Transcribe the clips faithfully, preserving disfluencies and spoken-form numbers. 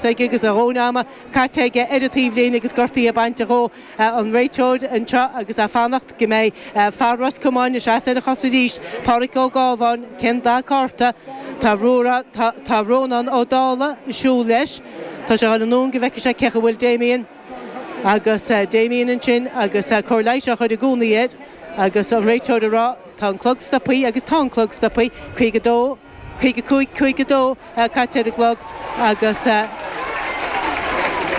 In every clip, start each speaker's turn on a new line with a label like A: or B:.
A: aige agus a dhóthain ama caite aige ar an taobhlíne agus gortaithe bainte dhó an réiteoir anseo agus ag fanacht go mbeidh fear Ros Comáin ina sheasamh ar a chosa arís, Pádraic Ó Gábháin, cén dath cárta? Tá Tá Rónán Ó Dálaigh ag siúl leis. Tá sé ag dul anonn go bhfeicfidh sé cé chaoi a bhfuil Damien agus Damien ansin agus cóir leighis á chur i gcónaí air agus an réiteoir ag rá tá an clog stoptha agus tá an clog stoptha, caoga dó, caoga cúig, caoga dó caite ar an gclog agus.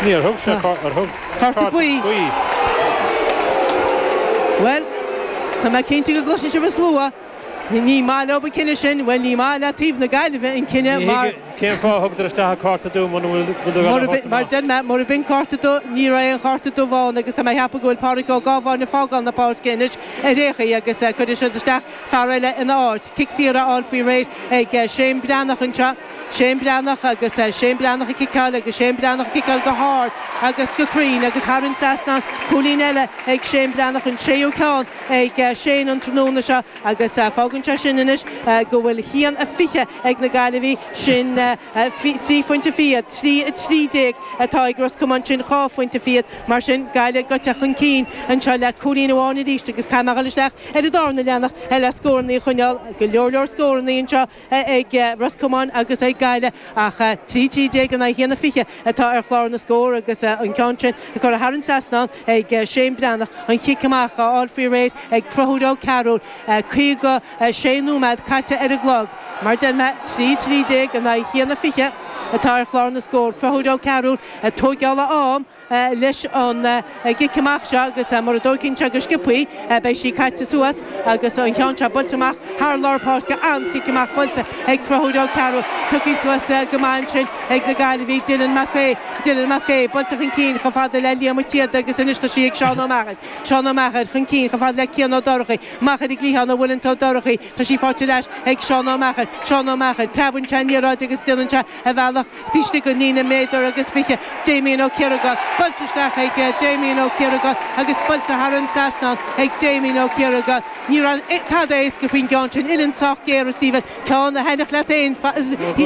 B: Níor thug sé ar thug
A: cárta buí. Bhuel, tá mé cinnte go gcloiseann sibh an slua. Ní maith leo an cinneadh sin, bhuel ní maith le taobh na Gaillimhe an cinneadh mar.
B: Cén fáth a thugtar isteach an cárta dubh muna bhfuil
A: Mar deir mé, mura b'in cárta dubh, ní raibh aon chárta dubh ann agus tá mé ag ceapadh go bhfuil Pádraic Ó Gábháin ag fágáil na páirce anois ar aon chaoi agus cuirfidh siad isteach fear eile ina áit. Cic saor á fháil faoi réir ag Shane Breathnach anseo. Shane Breathnach agus Shane Breathnach ag ciceáil agus Shane Breathnach ag ciceáil go hard agus go cruinn agus thar an trasnán, cúilín eile ag Shane Breathnach, an séú ceann ag Shane an tráthnóna seo agus fágann sé sin anois go bhfuil haon a fiche ag na Gaillimhigh, sin trí phointe fichead, trí a trí déag atá ag Ros Comáin, sin dhá phointe fichead. Mar sin, Gaillimh gaibhte chun cinn anseo le cúilín amháin arís agus caithfidh mé a dhul isteach ar an darna leathanach le scórannaí a choinneáil. Go leor leor scórannaí anseo ag Ros Comáin agus ag Gaillimh ach trí trí déag in aghaidh haon a fiche atá ar chlár na scór agus an ceann sin curtha thar an trasnán ag Shane Breathnach, an chic amach á fháil faoi réir ag Conchúr Ó Cearúil. caoga sé nóiméad caite ar an gclog. Mar deir mé, trí trí déag in aghaidh haon a fiche atá ar chlár na scór. Conchúr Ó Cearúil ag tóigeáil a am leis an gcic amach seo agus mura dtóigeann sé go sciobthaí beidh sí caite suas agus an ceann seo buailte amach thar lár páirce. An-chic amach buailte ag Conchúr Ó Cearúil. Tugtha suas go maith ansin ag na Gaillimhigh, Dylan Mac Aodha. Dylan Mac Aodha buailte chun cinn chomh fada le Liam Ó Téada agus anois tá sí ag Seán Ó Meachair. Seán Ó Meachair chun cinn chomh fada le Cian Ó Dorchaí. Amach ar an gcliathán a bhuaileann Ó Dorchaí. Tá sí faighte ar ais ag Seán Ó Meachair. Seán Ó Meachair, preabann sé an liathróid agus déanann sé a bhealach taobh istigh den líne méadar agus fiche. Damien Ó Ciaragáin. Buailte isteach ag Damien Ó Ciaragáin agus buailte thar an trasnán ag Damien Ó Ciaragáin. Ní raibh tada éasca faoin gceann sin. Uillinn sách géar, a Stephen. Ceann a thaitneodh leat féin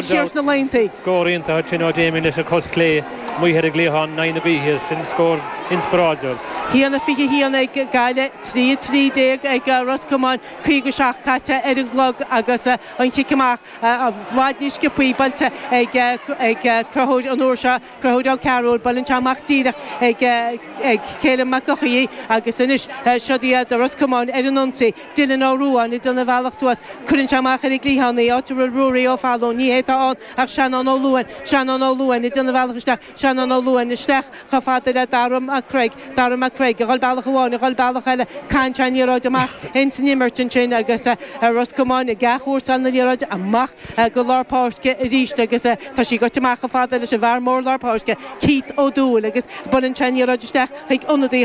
A: siar sna laethanta.
B: Scór iontach ansin ó Damien leis an chos chlé amuigh ar an gcliathán in aghaidh na gaoithe. Sin scór inspioráideach.
A: Haon a fiche haon ag Gaillimh, trí a trí déag ag Ros Comáin, caoga seacht caite ar an gclog agus an chic amach i bhfad níos sciobthaí buailte ag Conchúr an uair seo, Conchúr Ó Cearúil. Buaileann sé amach díreach ag Caleb Mac Eochaidh agus anois siod iad Ros Comáin ar an ionsaí. Dylan Ó Ruadháin ag déanamh a bhealach suas. Cuireann sé amach ar an gcliathán í, áit a bhfuil Ruairí Ó Fallúin. Ní hé atá ann ach Seanán Ó Luain. Seanán Ó Luain ag déanamh a bhealach isteach. Seanán Ó Luain isteach chomh fada le Dara Mac Craig. Dara Mac Craig ag dhul bealach amháin, ag dhul bealach eile. Caitheann sé an liathróid amach ins an imirt ansin agus Ros Comáin ag athchúrsáil na liathróide amach go lár páirce arís agus tá sí gaibhte amach chomh fada leis an bhfear mór lár páirce, Keith Ó Dúill agus buaileann sé an liathróid isteach chuig ionadaí.